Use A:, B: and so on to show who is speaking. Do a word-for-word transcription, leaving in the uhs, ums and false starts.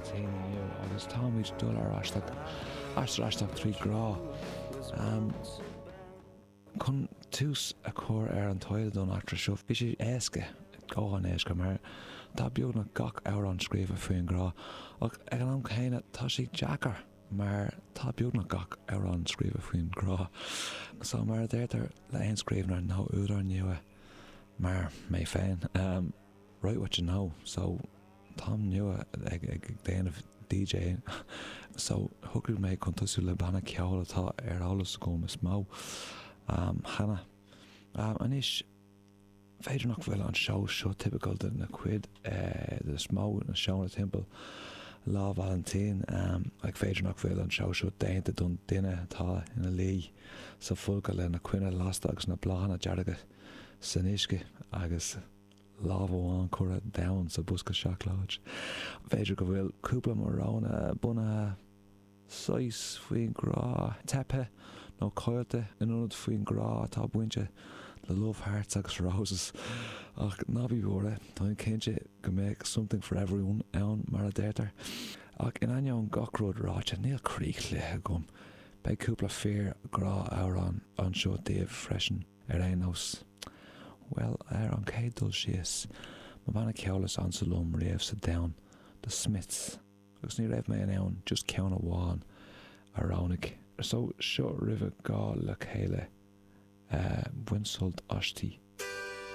A: Vailintín inniu agus táimid dul ar aisteach aistear aisteach trí grá. Um, chun tús a chur ar an taighde don eachtra seo bhí sé éasca go han-éasca mar tá beagnach gach amhrán scríofa faoin grá ach ag an am céanna tá sé deacair mar tá beagnach gach amhrán scríofa faoin grá. So mar a deirtear le haon scríbhneoir nó údar nua mar mé féin. Um, write what you know, so táim nua ag ag déanamh DJ so shocraigh mé chun tosú le banna ceoil atá ar eolas agam is mó um, cheana. Um, anois b'fhéidir nach bhfuil an seó seo tipiciúil de na cuid eh, de is mó na seónna timpeall Lá Vailintín um, ach b'fhéidir nach bhfuil an seó seo déanta don duine atá ina luí sa folcadh le na coinnle lasta agus na bláthanna dearga san uisce agus lámh amháin curtha domhain sa bosca seacláid. B'fhéidir go bhfuil cúpla amhrán bunaithe saghas faoin grá teipthe nó caillte in ionad faoin grá atá bainte le love hearts agus roses ach ná bí buartha Tá cinnte go mbeidh something for everyone ann mar a deirtear. Ach in ainneoin gach rud ráite níl croíchluiche agam. Beidh cúpla fíor grá amhrán anseo daoibh freisin ar aon nós. Well ar an chéad dul síos, mo bhanna ceoil is ansa liom riamh sa domhan, The Smiths, agus ní raibh mé in ann just ceann amháin a roghnú. So seo roimh dhá le chéile uh, bain sult aisti.